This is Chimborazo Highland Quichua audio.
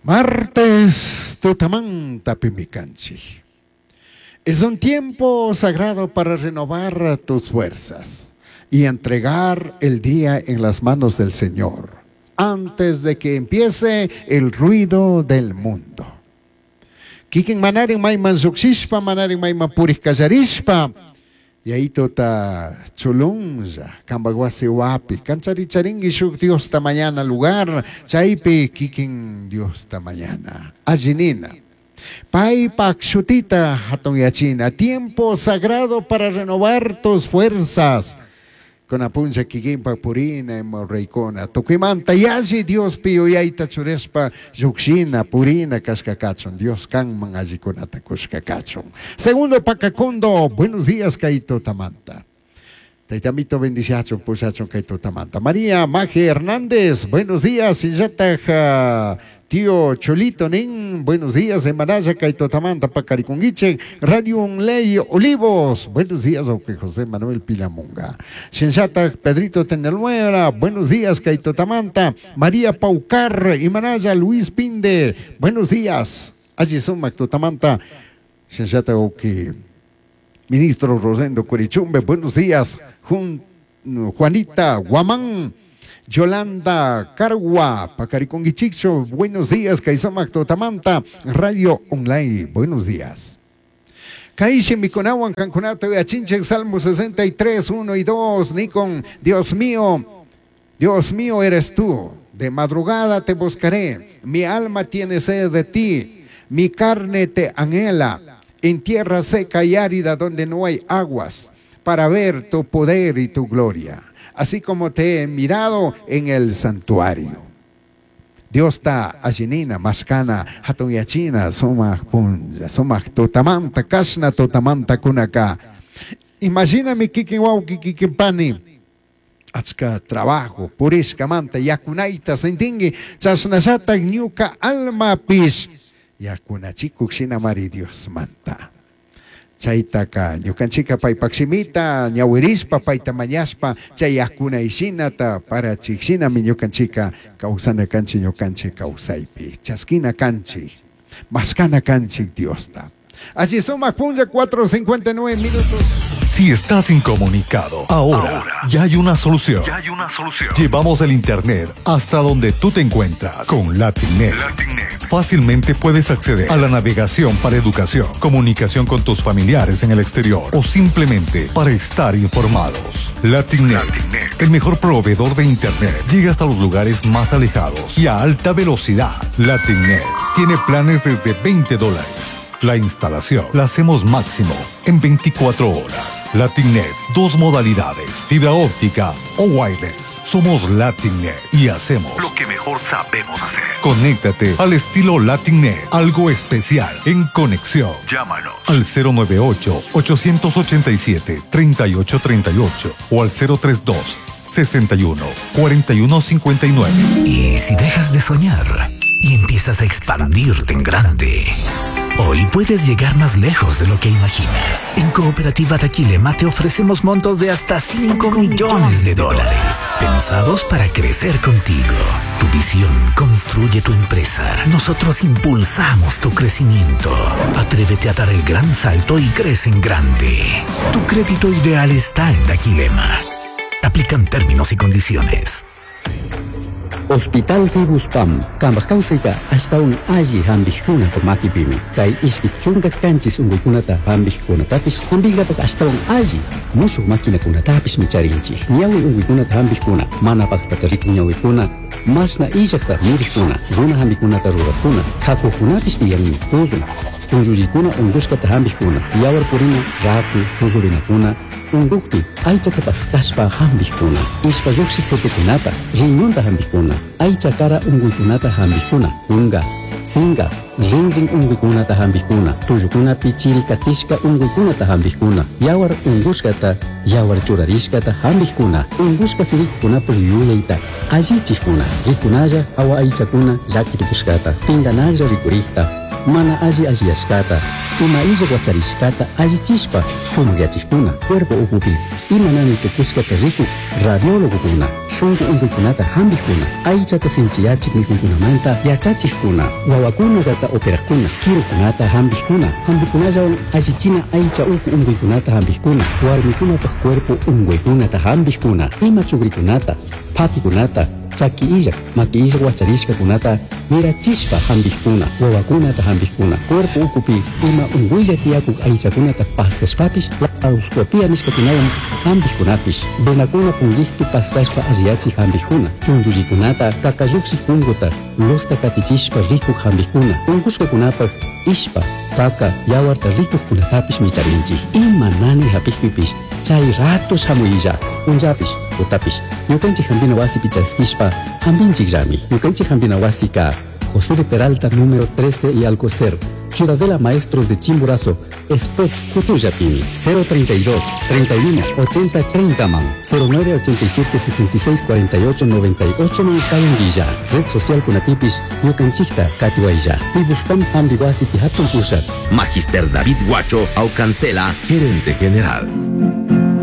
Martes tutamantapimi canchij. Es un tiempo sagrado para renovar tus fuerzas y entregar el día en las manos del Señor antes de que empiece el ruido del mundo. Kikin manarin mayman llukshishpa, manarin mayman purij kallarishpa, Yaitota chulunlla, kambaj wasi wapi, kancharicharinki shuk Diosta mañana lugar, chaypi kikin Diosta mañana. Alli nina. Paypak shutita hatunyachina, tiempo sagrado para renovar tus fuerzas. Kuna punlla kikinpak purina ima ruraykuna, tukuymanta yalli Diospi yuyayta churashpa llukshina, purina kashka kachun, Dios kanman allikunata kushka kachun. Segundo Pacacondo, buenos días kay tutamanta. Taytamito bendiciachun, pushachun kay tutamanta. María Maje Hernández, buenos días, shinllataj tío Cholito nin, buenos días, Emanaya kay tutamanta pacarikunguichik, Radio Unley Olivos, buenos días, ok, José Manuel Pilamunga. Shinllataj Pedrito Teneluera, buenos días, kay tutamanta. María Paucar, Imanaya Luis Pinde, buenos días. Allí sumak tutamanta. Shinllataj ok, ministro Rosendo Curichumbe, buenos días. Juanita Guamán, Yolanda Cargua, Pacariconguichicho, buenos días, Kaisamak Totamanta, Radio Online, buenos días. Kaishi Mikunawan, Cancunato, Achinche, Salmo 63, 1 y 2, Nikon, Dios mío, Dios mío eres tú, de madrugada te buscaré, mi alma tiene sed de ti, mi carne te anhela, en tierra seca y árida donde no hay aguas, para ver tu poder y tu gloria, así como te he mirado en el santuario. Dios ta allinina, mashkana, hatun yachina, sumaq punlla, sumaq tutamanta, kashna tutamanta kunaka. Imagíname kikin wawqi, kikin pani, achka trabajo, purishkamanta, yakunayta sentinki, chashnallatak ñuka almapish, yakunachikuk shinamari Diosmanta. Chaytaka ñukanchika paypak shimita ñawirishpa payta mañashpa chay yakunay-shinata parachik shinami ñukanchika kawsana kanchik ñukanchik kawsaypi chaskina kanchik mashkana kanchik Diosta. Allí sumak punlla 4:59 minutos. Si estás incomunicado, ahora ya hay una solución. Ya hay una solución. Llevamos el internet hasta donde tú te encuentras con LatinNet. LatinNet. Fácilmente puedes acceder a la navegación para educación, comunicación con tus familiares en el exterior o simplemente para estar informados. LatinNet, LatinNet. el mejor proveedor de internet, llega hasta los lugares más alejados y a alta velocidad. LatinNet tiene planes desde veinte dólares. La instalación la hacemos máximo en 24 horas. LatinNet, dos modalidades, fibra óptica o wireless. Somos LatinNet y hacemos lo que mejor sabemos hacer. Conéctate al estilo LatinNet, algo especial en conexión. Llámanos al cero nueve ocho, ochocientos ochenta y siete, treinta y ocho treinta y ocho o al cero tres dos, sesenta y uno, cuarenta y uno cincuenta y nueve. Y si dejas de soñar y empiezas a expandirte en grande, hoy puedes llegar más lejos de lo que imaginas. En Cooperativa Daquilema te ofrecemos montos de hasta 5 millones de dólares, pensados para crecer contigo. Tu visión construye tu empresa. Nosotros impulsamos tu crecimiento. Atrévete a dar el gran salto y crece en grande. Tu crédito ideal está en Daquilema. Aplican términos y condiciones. Hospital Fibuspam, kambaj kawsayta ashtawan alli hampikkunata makipimi. Kay ishki chunka kanchis unkuykunata hampikkunatapish hampinkapak ashtawan alli mushuk maquinakunatapishmi charinchik. Ñawi unkuykunata hampikkuna, mana paktata rikun ñawikuna, mashna illakta mirikkuna, runa hampikunata rurakkuna, kakukunapish tiyanmi, tuzun, chunllullikuna unkushkata hampikkuna, yawar purina, raku, chuzurinakuna, unkukpi aychata paskashpa hampikkuna, ishpa llukshik tutukunata, riñonta hampikkuna, aycha kara unkuykunata hampikkuna, kunka, sinka, rinrin unkuykunata hampikkuna, tullukunapi chiri katishka unkuykunata hampikkuna, yawar unkushkata, yawar churarishkata hampikkuna, unkushka sirikkunapak yuyayta allichikkuna, rikunalla awa aychakuna llakitukushkata, pinkanalla rikurikta, mana alli alliyashkata, Ima illa wacharishkata allichishpa sumakyachikuna, cuerpo ukupi ima nani tukushkata rikuk radiólogokuna, shunku unkuykunata hampikuna, aychata sinchiyachik mikuykunamanta yachachikkuna, wawakunallata operakuna, kirukunata hampikkuna, hampikunallawan allichina aycha uku unkuykunata hampikkuna, warmikunapaq cuerpo unkuykunata hampikkuna, ima chukrikunata, phakikunata, chaki illak, maki illak wacharishkakunata mirachishpa hampikkuna, wawakunata hampikkuna, cuerpo ukupi ima unkuylla tiyakuk aychakunata paskashpapish laparoscopia nishkakunawan hampikkunapish, venakuna punkikpi paskashpa alliyachik hampikkuna, chunchullikunata kakallukshik punkuta losta katichishpa rikuk hampikkuna, unkushkakunapak ishpa, kaka, yawarta rikukkunatapish micharinchik. Ima nani hapikpipish chay rato shamuylla, punllapish, tutapish, ñukanchik hampina wasipi chaskishpa hampinchikllami. Ñukanchik hampina wasika José de Peralta, número 13 y Alcocer, Ciudadela Maestros de Chimborazo, Spot Cutuyapimi, 032 31 80 30 man, 09 87 66 48 98 man Kayunguilla, Red Social Kunatipis, Ñukanchikta, Katiwaylla, Pibuspam Hambiwasi Pihatun Pushat. Magister David Guacho Aucancela, gerente general.